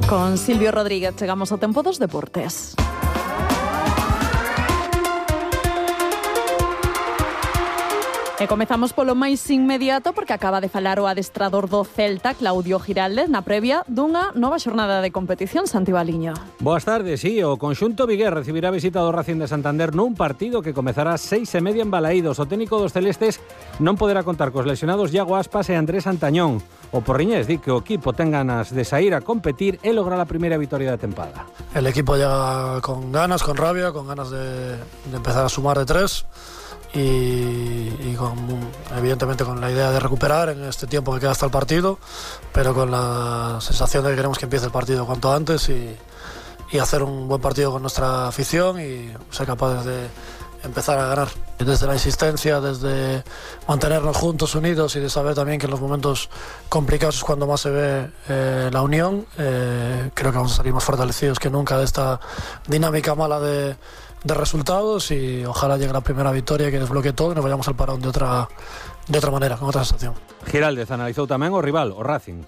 Con Silvio Rodríguez chegamos ao tempo dos deportes. E comezamos polo máis inmediato porque acaba de falar o adestrador do Celta, Claudio Giraldez, na previa dunha nova xornada de competición, Santi Baliño. Boas tardes, sí, o conxunto vigués recibirá visita do Racing de Santander nun partido que comezará 6:30 en Balaídos. O técnico dos celestes non poderá contar cos lesionados Iago Aspas e Andrés Antañón. O porriñés di que o equipo ten ganas de sair a competir e lograr a primeira vitoria da tempada. El equipo llega con ganas, con rabia, con ganas de empezar a sumar de tres. Y evidentemente con la idea de recuperar en este tiempo que queda hasta el partido, pero con la sensación de que queremos que empiece el partido cuanto antes y hacer un buen partido con nuestra afición y ser capaces de empezar a ganar. Desde la insistencia, desde mantenernos juntos, unidos y de saber también que en los momentos complicados es cuando más se ve la unión, creo que vamos a salir más fortalecidos que nunca de esta dinámica mala de resultados y ojalá llegue la primera victoria que desbloquee todo y nos vayamos al parón de otra manera, con otra sensación. Giraldez analizou tamén o rival, o Racing.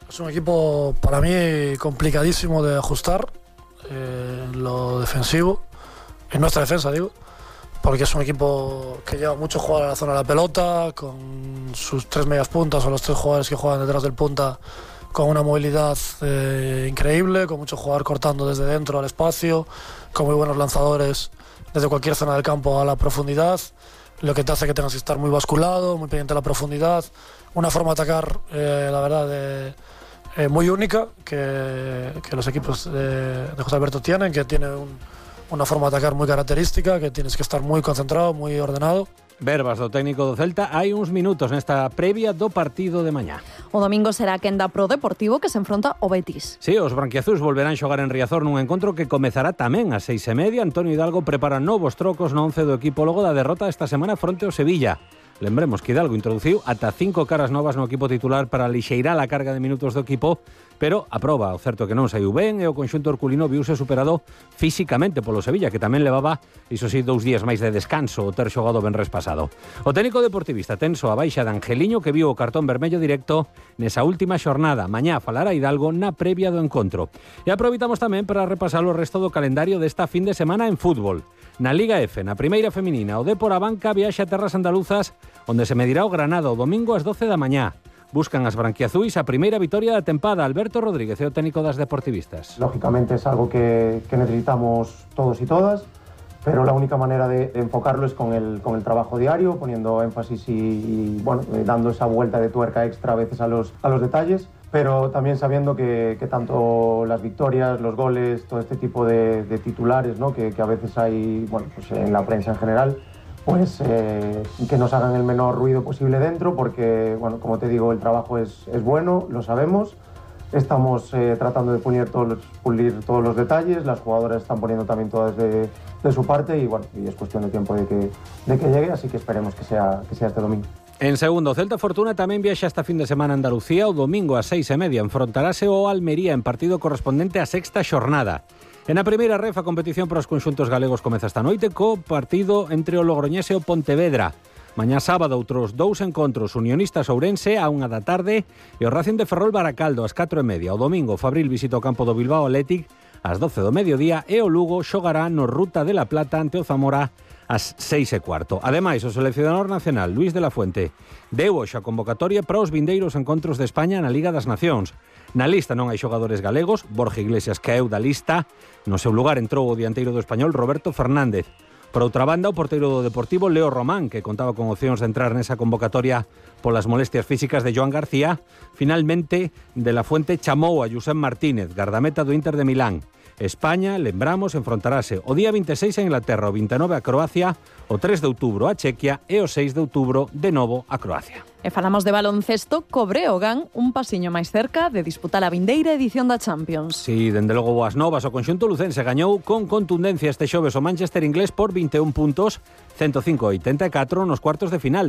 Es un equipo para mí complicadísimo de ajustar en lo defensivo, en nuestra defensa digo, porque es un equipo que lleva mucho jugar a la zona de la pelota, con sus tres medias puntas o los tres jugadores que juegan detrás del punta con una movilidad increíble, con mucho jugador cortando desde dentro al espacio, con muy buenos lanzadores desde cualquier zona del campo a la profundidad, lo que te hace que tengas que estar muy basculado, muy pendiente de la profundidad, una forma de atacar, la verdad, muy única que los equipos de José Alberto tienen, que tiene una forma de atacar muy característica, que tienes que estar muy concentrado, muy ordenado. Verbas do técnico do Celta hai uns minutos nesta previa do partido de mañá. O domingo será a quenda pro Deportivo que se enfronta ao Betis. Sí, os branquiazuis volverán xogar en Riazor nun encontro que comezará tamén ás 6:30. Antonio Hidalgo prepara novos trocos no 11 do equipo logo da derrota esta semana fronte ao Sevilla. Lembremos que Hidalgo introduciu ata 5 caras novas no equipo titular para lixeirar a carga de minutos do equipo, pero a proba, o certo que non saiu ben, e o conxunto herculino viuse superado físicamente polo Sevilla, que tamén levaba, iso sí, 2 días máis de descanso o ter xogado venres pasado. O técnico deportivista tenso a baixa de Angeliño, que viu o cartón vermello directo nesa última xornada. Mañá falará Hidalgo na previa do encontro. E aproveitamos tamén para repasar o resto do calendario desta fin de semana en fútbol. Na Liga F, na primeira feminina, o Depor Abanca viaxa a terras andaluzas, onde se medirá o Granada o domingo ás 12 da mañá. Buscan as branquiazuis a primeira vitoria da tempada. Alberto Rodríguez é o técnico das deportivistas. Lógicamente es algo que necesitamos todos y todas, pero la única manera de enfocarlo es con el trabajo diario, poniendo énfasis y bueno, dando esa vuelta de tuerca extra a veces a los detalles, pero también sabiendo que tanto las victorias, los goles, todo este tipo de titulares, ¿no? que a veces hay, bueno, pues en la prensa en general, pues que nos hagan el menor ruido posible dentro, porque, bueno, como te digo, el trabajo es bueno, lo sabemos. Estamos tratando de pulir todos los detalles, las jugadoras están poniendo también todas de su parte y bueno, y es cuestión de tiempo de que llegue, así que esperemos que sea este domingo. En segundo, Celta Fortuna tamén viaxa esta fin de semana a Andalucía. O domingo ás 6:30 enfrontarase o Almería en partido correspondente á sexta xornada. En a primeira ref, a competición para os conxuntos galegos comeza esta noite co partido entre o Logroñés e o Pontevedra. Mañá sábado outros 2 encontros, Unionistas Ourense á 1 da tarde e o Racing de Ferrol Baracaldo ás 4:30. O domingo, Fabril visita o campo do Bilbao Athletic ás 12 do mediodía e o Lugo xogará no Ruta de la Plata ante o Zamora ás 6:15. Ademais, o seleccionador nacional Luis de la Fuente deu hoxe a convocatoria para os vindeiros encontros de España na Liga das Nacións. Na lista non hai xogadores galegos. Borja Iglesias caeu da lista. No seu lugar entrou o dianteiro do Español Roberto Fernández. Por outra banda, o porteiro do Deportivo Leo Román, que contaba con opcións de entrar nesa convocatoria polas molestias físicas de Joan García, finalmente de la Fuente chamou a Josep Martínez, gardameta do Inter de Milán. España, lembramos, enfrontarase o día 26 a Inglaterra, o 29 a Croacia, o 3 de outubro a Chequia e o 6 de outubro de novo a Croacia. E falamos de baloncesto, co Breogán un pasiño máis cerca de disputar a vindeira edición da Champions. Sí, dende logo boas novas, o conxunto lucense gañou con contundencia este xoves o Manchester inglés por 21 puntos, 105-84 nos cuartos de final.